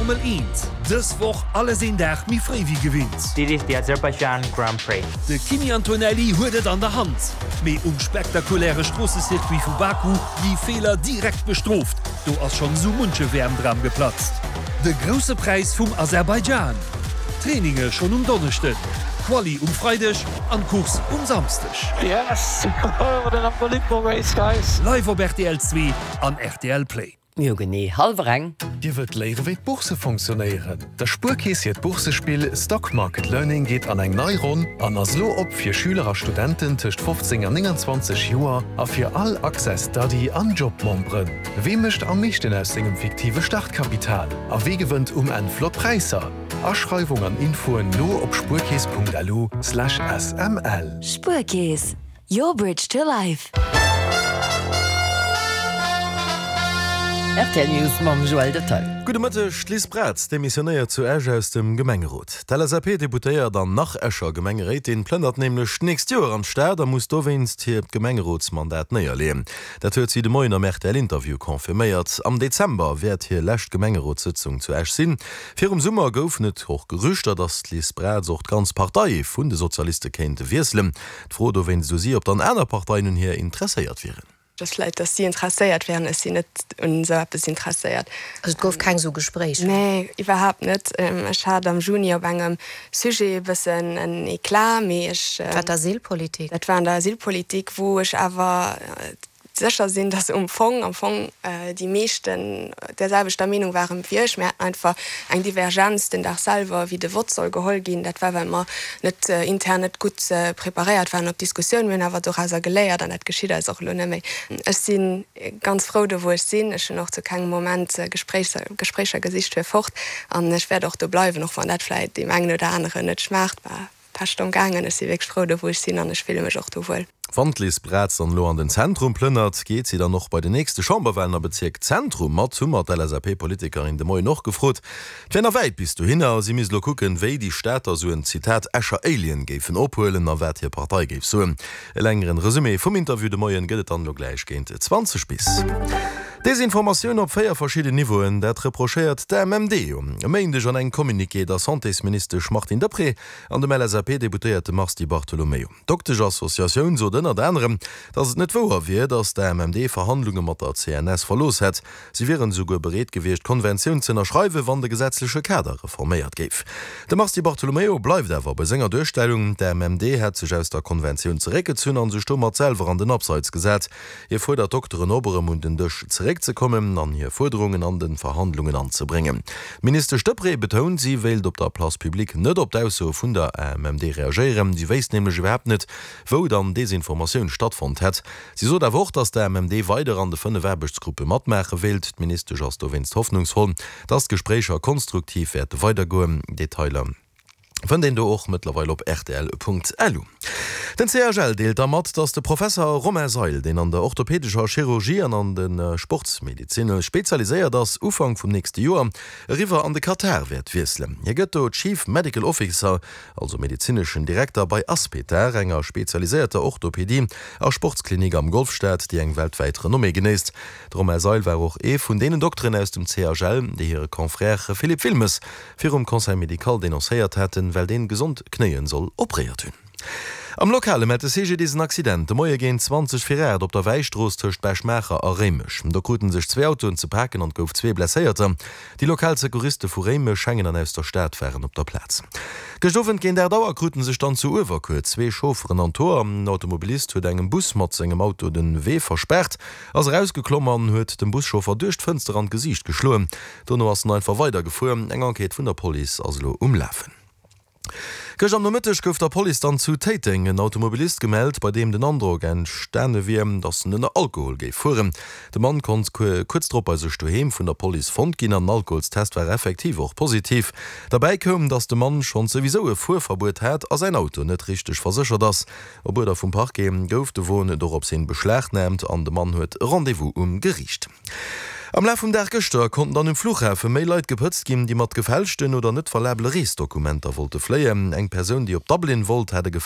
Formel 1, dës Woch alles een Dag méi fréi wéi gewinnt. This is the Azerbaijan Grand Prix. De Kimi Antonelli huet et an der Hand, mee um spektakuläre Stroossecircuit vu Baku gi Feeler direkt bestrooft. Do ass schonn esou munche WM-Dram geplatzt. De Grousse Präis vum Aserbaidschan, Traininge schonn um Donneschden, Quali um Freideg an d'Course um Samsdeg. Yes! What an unbelievable race guys! Live op rtl 2 an rtl Play. Jo genee hallwer eng. Dir wëllt léiere wéi d'Bourse fonctionnéieren? Der Spuerkeess hiert Boursespill Stock Market Learning geet an eng nei Ronn an ass elo op fir Schüler a Studenten tëscht 15 an 29 Joer a fir all Access Study an Job Memberen. Wee mécht am meeschten aus sengem fiktive Startkapital a wee gewënnt um Enn flott Präisser? Aschreiwung an Infoen lo op spuerkeess.lu/sml. Spuerkeess, your bridge to life. Rtl News mam Joël Detail. Gudde Mëtteg, D'Liz Braz demissionéiert zu Esch aus dem Gemengerot. D'LSAP-Deputéiert an nach-Escher Gemengeréitin plënnert nämlech d'nächst Joer an d'Stad a muss dowéinst hiert Gemengerotsmandat néierleeën. Dat huet si de Moien am RTL-Interview confirméiert. Am Dezember wäert hir lescht Gemengerotssëtzung zu Esch sinn. Virum Summer goufen et och Gerüchter, datt d'Liz Braz och d'ganz Partei vun de Sozialiste kéint wiesselen. D'Fro dowéinst u si, ob dann aner Parteien un hir interesséiert wieren. Just vläit, datt si interesséiert wären. Ech sinn net un esou eppes interesséiert. Also et gouf keng esou Gespréicher? Nee, iwwerhaapt net. Ech hat am Juni op engem Sujet e bëssen en Eclat, mee ech. War d'Asylpolitik? Dat war an der Asylpolitik, wou ech awer sécher sinn, datt um Fong, am Fong déi meeschten där selwechter Meenung waren wéi ech. Mir haten einfach eng Divergenz den Dag selwer, wéi de Vott soll geholl ginn. Dat war, well mer net intern net gutt preparéiert waren op d'Diskussioun. Mir hunn awer dorauser geléiert an dat geschitt eis och elo net méi. Ech si ganz frou do, wou ech sinn. Ech hunn och zu kengem Moment Gespréicher gesicht fir fort an ech wäert och do bleiwen, och wann dat vläit deem engen oder aneren net schmaacht. Pescht gaangen. Ech si wierklech frou do wou ech sinn an ech fille mech och do wuel. Wann d'Liz Braz dann elo an den Zentrum plënnert, geet si dann och bei den nächste Chamberwahlen am Bezierk Zentrum mat, hu mer d'LSAP-Politikerin de Moien och gefrot. Et wär nach wäit bis dohinner, si misst elo kucken, wéi déi Stater sou en, Zitat, Escher Alien géifen ophuelen a wat hir Partei géif soen. E längeren Resumé vum Interview de Moien gëtt et dann elo gläich géint 20 bis. Desinformatioun op 4 verschidden Niveauen, dat reprochéiert d'AMMD e Méindeg an engem Communiqué der Santésministesch Martine Deprez an dem LSAP-Deputéierte Mars Di Bartolomeo. D'Doktesch-Associatioun sot ënnert anerem, datt et net wouer wier, datt d'AMMD Verhandlunge mat der CNS verlooss hätt. Si wieren esouguer bereet gewiescht, d'Konventioun z'ënnerschreiwen, wann de gesetzleche Kader reforméiert géif. De Mars Di Bartolomeo bleift awer bei senger Duerstellung, D'AMMD hätt sech aus der Konventioun zeréckgezunn a sech domat selwer an den Abseits gesat. Hie fuerdert d'Dokteren op, erëm un den Dësch zeréckzekommen an hir Fuerderungen an de Verhandlungen anzebréngen. D'Ministesch Deprez betount, si wéilt op der Place publique net op d'Aussoe vun der AMMD reagéieren. Si wéisst nämlech iwwerhaapt net, wou dann Desinformatioun stattfonnt hätt. Si sot awer och, datt d'AMMD weider an de 5 Aarbechtsgruppe matmaache wéilt. D'Ministesch ass dowéinst hoffnungsvoll, datt d'Gespréicher konstruktiv wäerte weidergoen. Detailer fënnt een do och mëttlerweil op rtl.lu. Den CHL deelt da mat, datt de Professer Romain Seil, deen an der orthopädescher Chirurgie an an de Sportsmedezin spezialiséiert ass, Ufank vum nächste Joer eriwwer an de Katar wäert wiesselen. Hie gëtt do Chief Medical Officer, also medezineschen Direkter, bei Aspetar, enger spezialiséierter Orthopädie a Sportsklinik am Golfstaat, déi eng weltwäit Renommée genéisst. De Romain Seil war och ee vun deenen Dokteren aus dem CHL, déi hire Confrère Philippe Wilmes virum Conseil médical denoncéiert haten, well deen gesond Knéien soll opréiert hunn. Am Lokale mellt de CGDIS en Accident de Moie géint 20 vir 8 op der Wäistrooss tëscht Bech-Maacher a Réimech. Do kruten sech zwee Autoen ze paken an et gouf zwee Blesséierter. Déi lokal Secouriste vu Réimech, Schengen an aus der Stad waren op der Plaz. Gëscht Owend géint 8 Auer kruten sech dann zu Uewerkuer zwee Chaufferen an d'Hoer. En Automobilist huet engem Bus mat sengem Auto den Wee verspaart, ass erausgeklomm an huet dem Buschauffer duerch d'Fënster an d'Gesiicht geschloen. Dono ass en einfach weider gefuer. Eng Enquête vun der Police ass elo um Lafen. Gëscht am Nomëtteg gouf der Police dann zu Téiteng en Automobilist gemellt, bei deem den Androck entstane wier, datt en ënner Alkohol géif fueren. De Mann konnt kuerz drop bei sech doheem vun der Police fonnt ginn an den Alkoholstest war effektiv och positiv. Derbäi koum, datt de Mann schonns souwisou e Fuerverbuet hat a säin Auto net richteg verséchert ass. Op Uerder vum Parquet gouf de Won dorops hin beschlagnaamt an de Mann huet e Rendez-vous um Geriicht. Am Laf vum Dag gëschter konnten dann um Fluchhafe méi Leit gepëtzt ginn, déi mat gefälschten oder net valabele Reesdokumenter wollte fléien. Eng Persoun, déi op Dublin wollt, hat e gefälschten.